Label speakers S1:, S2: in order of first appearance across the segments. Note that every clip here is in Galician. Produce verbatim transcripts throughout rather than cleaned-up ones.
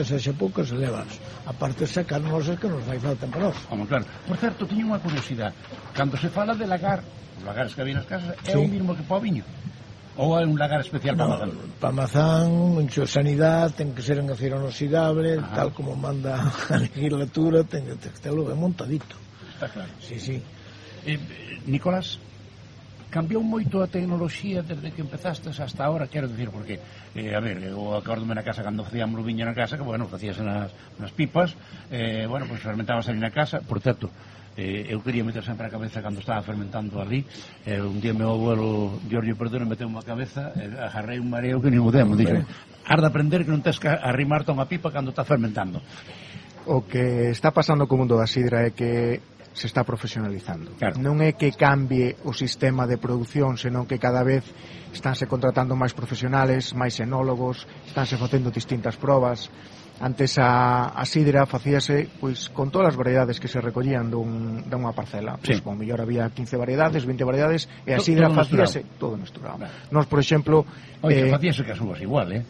S1: sexa poucas levas, a parte sacar nosas que nos fai falta para nós.
S2: Vamos, claro. Por certo, teño unha curiosidade. Cando se fala de lagar, os lagares que había nas casas, é sí. O mismo que para o viño? Ou é un lagar especial para no, mazán?
S1: Para mazán, mucho sanidade, ten que ser en acero inoxidable, ajá, tal como manda a legislatura, ten que telo ben montadito.
S2: Está claro.
S1: Sí, sí.
S2: Eh, Nicolás, cambiou moito a tecnoloxía desde que empezastes hasta ahora, quero dicir, porque, eh, a ver, eu acordome na casa cando facíamos o viño na casa, que, bueno, facías nas, nas pipas, eh, bueno, pois pues, fermentabas ali na casa, por certo, eh, eu quería meter sempre a cabeza cando estaba fermentando ali, eh, un día meu abuelo Giorgio Perdón meteu unha cabeza, eh, agarrei un mareo que nin o demo, dixo, has de aprender que non tens que arrimarte a unha pipa cando estás fermentando.
S3: O que está pasando co mundo da sidra é que se está profesionalizando.
S2: Claro.
S3: Non é que cambie o sistema de produción, senón que cada vez estánse contratando máis profesionales, máis enólogos, estánse facendo distintas probas. Antes a, a sidra facíase pois con todas as variedades que se recollían dun, dunha parcela. Pois, sí. Con mellor había quince variedades, vinte variedades, e a sidra todo facíase todo mesturado. Claro. Nos, por exemplo...
S2: Oye, eh, facíase que as uvas igual, eh?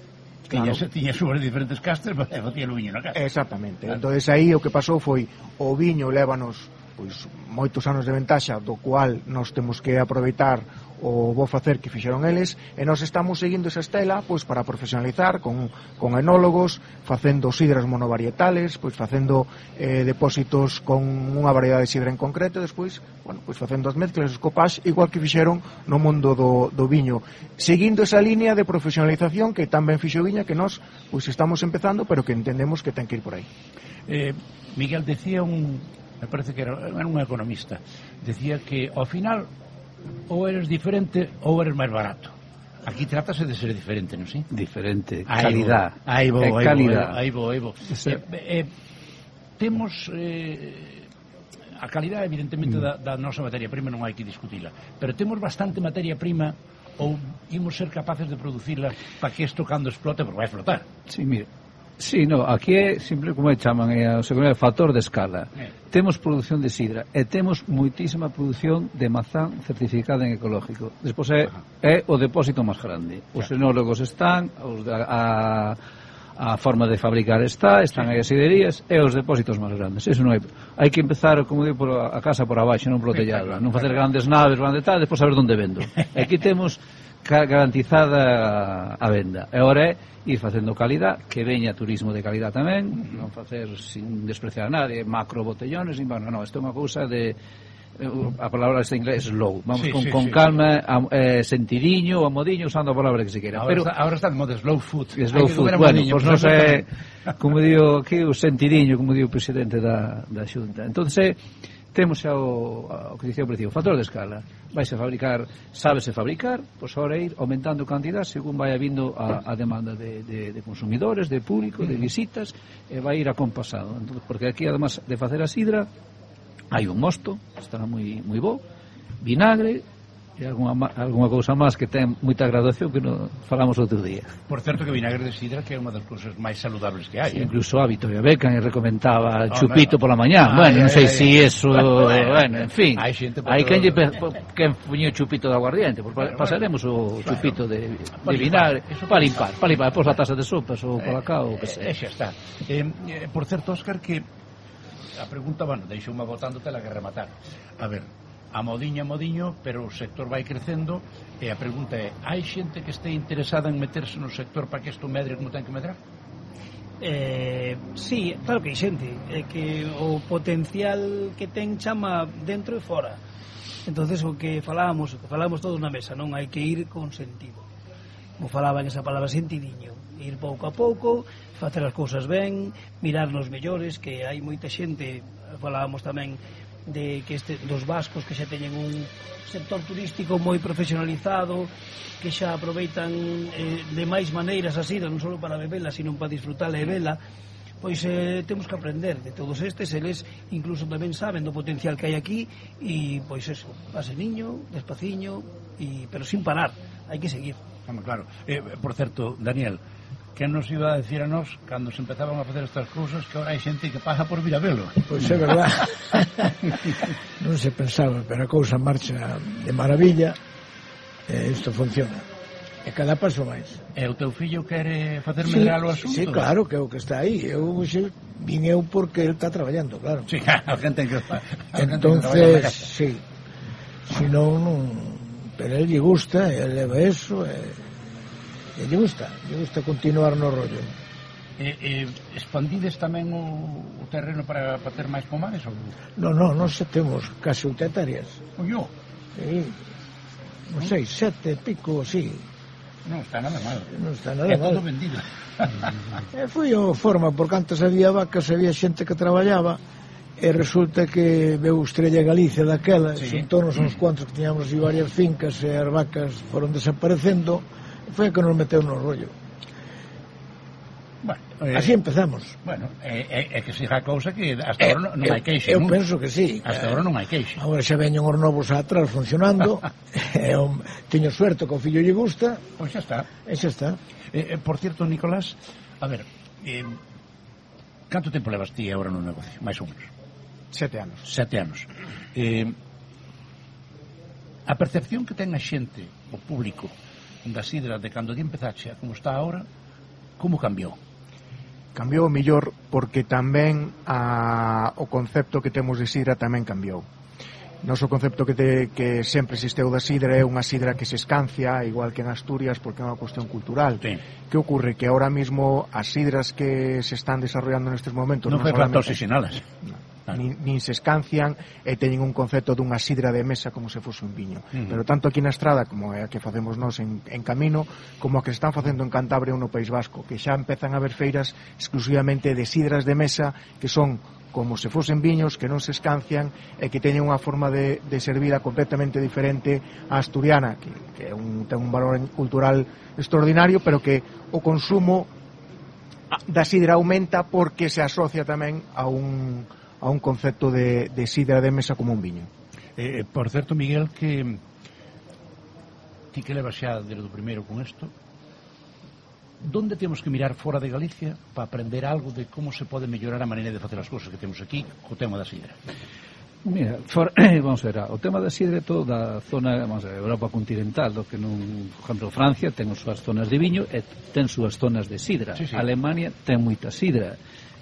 S2: Claro. Tiñas, tiñas uvas de diferentes castes, e facía o viño na casa.
S3: Exactamente.
S2: Claro.
S3: Entonces aí o que pasou foi o viño lévanos pois moitos anos de ventaxa, do cual nós temos que aproveitar o bo facer que fixeron eles, e nós estamos seguindo esa estela pois para profesionalizar con, con enólogos, facendo sidras monovarietales, pois facendo eh, depósitos con unha variedade de sidra en concreto, e despois, bueno, pois facendo as mezclas, os copax, igual que fixeron no mundo do, do viño, seguindo esa línea de profesionalización que tamén fixo Viña, que nós pois estamos empezando, pero que entendemos que ten que ir por aí.
S2: eh, Miguel decía un, me parece que era, era un economista, decía que ao final ou eres diferente ou eres máis barato. Aquí trátase de ser diferente, non si?
S4: Diferente,
S2: aí
S4: calidad.
S2: Aí vou, aí
S4: calidad.
S2: Aí vou, aí vou. Sí. Eh, eh, temos eh, a calidad evidentemente mm. da, da nosa materia prima, non hai que discutila, pero temos bastante materia prima ou imos ser capaces de producirla para que isto cando explote, porque vai explotar.
S4: Sí, mire, sí, no, aquí é simple, como é chaman, é o segundo factor de escala. Eh. Temos produción de sidra e temos moitísima produción de mazán certificada en ecológico. Despois é, é o depósito máis grande. Os enólogos están, os da, a, a forma de fabricar está, están aí as siderías e os depósitos máis grandes. Eso non hai. Hai que empezar, como digo, por a casa por abaixo, non por o tellado, non facer grandes naves, grandes tal, despois saber onde vendo. E aquí temos garantizada a venda. E agora é ir facendo calidad, que veña turismo de calidad tamén, non facer sin despreciar a nadie, macro botellones, nin, bueno, non, isto é unha cousa de, a palabra está en inglés, slow, vamos sí, con, sí, con sí, calma, sí. A, eh, sentidiño ou a modiño, usando a palabra que se queira.
S2: Ahora, pero, está, ahora está de moda slow food.
S4: Slow food, bueno, pois pues non sei, como digo aquí, o sentidiño, como digo o presidente da, da Xunta. Entonces, temos xa o, o que dicía o precio, o factor de escala. Vais a fabricar, sábese fabricar, pois ahora ir aumentando cantidad según vai habindo a, a demanda de, de, de consumidores, de público, de visitas, e vai ir acompasado. Entonces, porque aquí, además de facer a sidra, hai un mosto, estará moi, moi bo, vinagre, e alguna, alguna cousa máis que ten moita graduación que no falamos outro día.
S2: Por certo que vinagre de sidra que é unha das cousas máis saludables que hai,
S4: sí,
S2: eh?
S4: Incluso a Victoria Beckham recomendaba oh, chupito no, no. Pola mañá, ah, bueno, non sei se si eso, bueno, en fin, hai quen lle quen puño chupito de aguardiente, pues bueno, pasaremos o claro, chupito de, de vinagre para limpar, para limpar, pois a taza de sopas ou colacao, o que sea.
S2: E xa está. Eh, eh, por certo, Óscar, que a pregunta, bueno, deixoume botándote la que rematar. A ver, a modiño, a modiño, pero o sector vai crecendo e a pregunta é, hai xente que este interesada en meterse no sector para que isto medre como ten que medrar?
S5: Eh, sí, claro que hai xente, é que o potencial que ten chama dentro e fora. Entonces o que falábamos, o que falábamos todos na mesa, non hai que ir con sentido. Como falaban esa palabra sentidiño, ir pouco a pouco, facer as cousas ben, mirar nos mellores, que hai moita xente, falábamos tamén de que este, dos vascos que xa teñen un sector turístico moi profesionalizado, que xa aproveitan eh, de máis maneiras a sidra, non só para bebela, sino para disfrutala e vela. Pois eh, temos que aprender de todos estes, eles incluso tamén saben do potencial que hai aquí, e pois eso, pase niño, despaciño, e, pero sin parar, hai que seguir.
S2: Vamos, claro. Eh, por certo, Daniel, que nos iba a decir a nós cando se empezaban a facer estas cousas que ahora hai xente que paga por vir a velo?
S1: Pois é verdad. Non se pensaba, pero a cousa marcha de maravilla e isto funciona. E cada paso máis.
S2: E o teu fillo quere facer medrar o asunto?
S1: Sí, claro, que é o que está aí. Eu xe, vin eu porque ele está traballando, claro.
S2: Sí, a gente que
S1: entonces, sí. Si non, non... Pero ele lle gusta, ele leva eso, e, e lle gusta, lle gusta continuar no rollo.
S2: E, e expandides tamén o, o terreno para, para ter máis pomares? Ou...
S1: Non, non, non se temos casi oitenta hectáreas.
S2: Oyo?
S1: Sí, non sei, sete, pico, sí.
S2: Non está nada mal.
S1: Non está nada
S2: é
S1: mal.
S2: todo vendido.
S1: E foi a forma, porque antes había vacas, había xente que traballaba, e resulta que veu Estrella Galicia daquela, sí. Xuntonos uns cuantos que tiñamos aí varias fincas, e as vacas foron desaparecendo, e foi a que nos meteu no rollo.
S2: Bueno, eh,
S1: así empezamos.
S2: Bueno, é, é, é que siga a cousa que hasta eh, agora non, non hai queixa.
S1: Eu
S2: non?
S1: penso que sí.
S2: Hasta agora non hai queixa.
S1: Agora xa veñen os novos atrás funcionando. e, um, teño suerte que o fillo lle gusta.
S2: Pois xa está.
S1: E xa está.
S2: Eh, eh, por cierto, Nicolás, a ver, eh, canto tempo levas ti agora no negocio? Mais ou menos.
S3: Sete anos.
S2: Sete anos. Eh, a percepción que ten a xente, o público, da sidra de cando ti empezaxe a como está agora, como cambiou?
S3: Cambiou mellor porque tamén a, o concepto que temos de sidra tamén cambiou. Noso concepto que, te, que sempre existeu da sidra é unha sidra que se escancia, igual que en Asturias, porque é unha cuestión cultural.
S2: Sí.
S3: Que ocorre? Que ahora mismo as sidras que se están desarrollando nestes momentos
S2: non fai falta oxixenalas.
S3: No. Nin, nin se escancian e teñen un concepto dunha sidra de mesa como se fose un viño. Uh-huh. Pero tanto aquí na Estrada, como é a que facemos nós en, en Camino, como a que se están facendo en Cantabria ou no País Vasco, que xa empezan a haber feiras exclusivamente de sidras de mesa que son como se fosen viños, que non se escancian e que teñen unha forma de, de servida completamente diferente á asturiana, que, que é un, ten un valor cultural extraordinario, pero que o consumo da sidra aumenta porque se asocia tamén a un a un concepto de, de sidra de mesa como un viño.
S2: Eh, por certo, Miguel, que ti que levas xa desde o primeiro con isto, donde temos que mirar fora de Galicia para aprender algo de como se pode mellorar a maneira de facer as cousas que temos aquí co tema da sidra?
S4: Mira, for, vamos a ver, o tema da sidra é todo da zona, vamos a ver, Europa continental, do que non, por exemplo, Francia ten as súas zonas de viño e ten súas zonas de sidra.
S2: Sí, sí.
S4: Alemania ten moita sidra.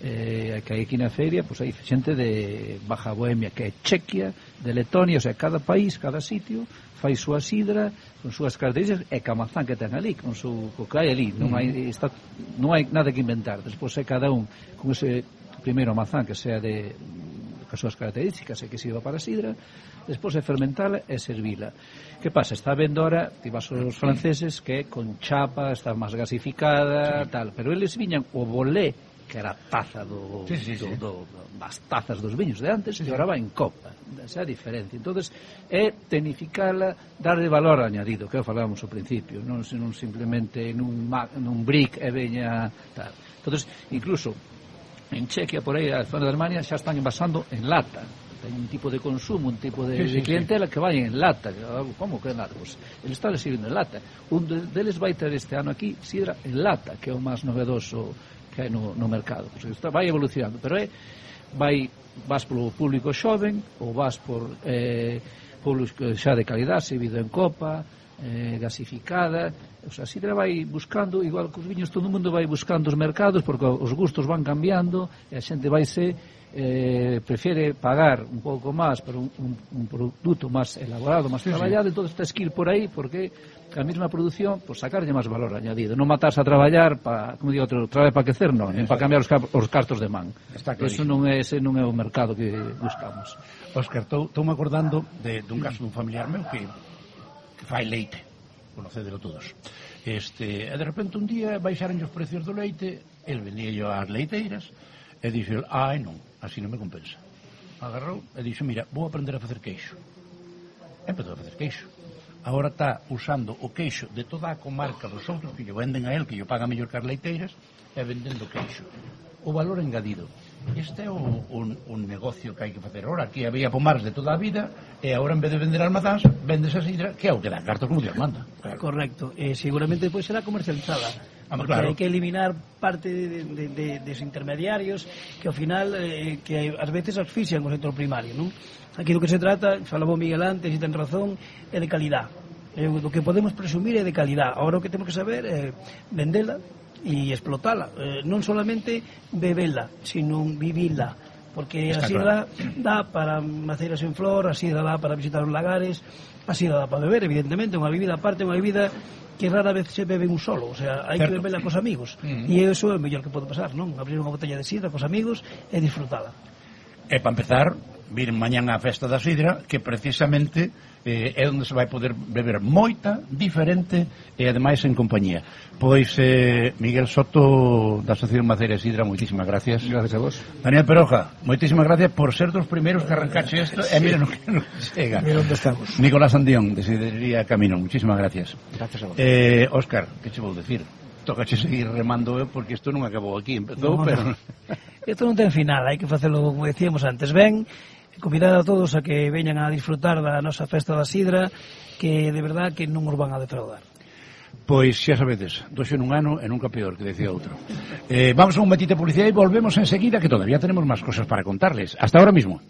S4: Eh, que hai aquí na feria, pois hai xente de Baja Bohemia, que é Chequia, de Letonia, o sea, cada país, cada sitio fai súa sidra con súas características e camazán que ten ali, con su co que hai ali, non hai está, non hai nada que inventar. Despois é cada un con ese primeiro mazán que sea de as súas características e que sirva para sidra, despois é fermentala e servila. Que pasa? Está vendo ahora, ti vas aos franceses, que é con chapa, está máis gasificada, tal, pero eles viñan o bolé, que era a taza do,
S2: sí, sí, sí.
S4: do, do das tazas dos viños de antes, sí, sí. E agora va en copa. Esa é a diferencia. Entonces é tenificala, darle valor añadido, que falábamos ao principio, non, non simplemente nun, nun brick e veña tal. Entonces, incluso en Chequia, por aí, a zona de Alemania, xa están envasando en lata. Ten un tipo de consumo, un tipo de, sí, sí, de clientela, sí, que vai en lata. Como que en lata? Pues, ele está sirviendo en lata. Un deles vai ter este ano aquí sidra en lata, que é o máis novedoso que hai no, no mercado. Pues, está, vai evolucionando, pero é vai, vas polo público xoven ou vas por eh, público xa de calidad, servido en copa, eh, gasificada. O sea, a sidra vai buscando, igual que os viños, todo o mundo vai buscando os mercados, porque os gustos van cambiando e a xente vai se eh, prefiere pagar un pouco máis por un, un, un produto máis elaborado, máis sí, traballado, sí. Entón tens que ir por aí porque a mesma produción, pues sacarlle máis valor añadido, non matarse a traballar para, como digo outro, traballar para quecer, non, nen para cambiar os, os cartos de man. Eso non é, ese non é o mercado que buscamos.
S2: Óscar, estou me acordando de, dun caso dun familiar meu que, que fai leite, conocedelo todos. Este, e de repente un día baixaron os precios do leite, el vendía yo ás leiteiras, e dixo, ai non, así non me compensa. Agarrou e dixo, mira, vou aprender a facer queixo. E empezou a facer queixo. Agora está usando o queixo de toda a comarca dos outros que lle venden a él, que lle paga mellor que as leiteiras, e vendendo queixo. O valor engadido. Este é o, un, un negocio que hai que facer. Ahora, aquí había pomares de toda a vida, e agora en vez de vender almazáns, vendes a sidra, que é o que dá cartos como Dios manda.
S5: Claro. Correcto. Eh, seguramente depois será comercializada.
S2: Ah,
S5: porque
S2: claro.
S5: Hai que eliminar parte de, de, de, de os intermediarios que ao final eh, que ás veces asfixian o sector primario, non? Aquí do que se trata, falaba Miguel antes e ten razón, é de calidad. Eh, o que podemos presumir é de calidad. Ahora o que temos que saber é vendela e explotala. Eh, non solamente bebela, sino vivila. Porque a sidra dá para maceiras en flor, a sidra dá para visitar os lagares, a sidra dá para beber, evidentemente, unha bebida aparte, unha bebida que rara vez se bebe un solo, o sea, hai que beberla cos amigos, e iso é o mellor que pode pasar, non? Abrir unha botella de sidra cos amigos e disfrutala.
S2: E para empezar, vir mañán á festa da sidra, que precisamente eh, é onde se vai poder beber moita, diferente e ademais en compañía. Pois eh, Miguel Soto da Asociación Maceira e Sidra, moitísimas gracias.
S4: Gracias a vos.
S2: Daniel Peroja, moitísimas gracias por ser dos primeiros que arrancache isto, e mira no que nos chega.
S1: Mira onde estamos.
S2: Nicolás Andión, de Sidrería Camino, moitísimas gracias.
S3: Gracias a vos.
S2: Eh, Óscar, que che vou decir? Tócache seguir remando eu, porque isto non acabou aquí, empezou,
S5: No,
S2: pero...
S5: no. Isto non ten final, hai que facelo como decíamos antes. Ben, convidar a todos a que veñan a disfrutar da nosa festa da sidra, que de verdad que non os van a defraudar.
S2: Pois xa sabedes, doxe nun ano e nunca peor, que decía outro. Eh, vamos a un momentito de publicidade e volvemos enseguida, que todavía tenemos máis cosas para contarles. Hasta ahora mismo.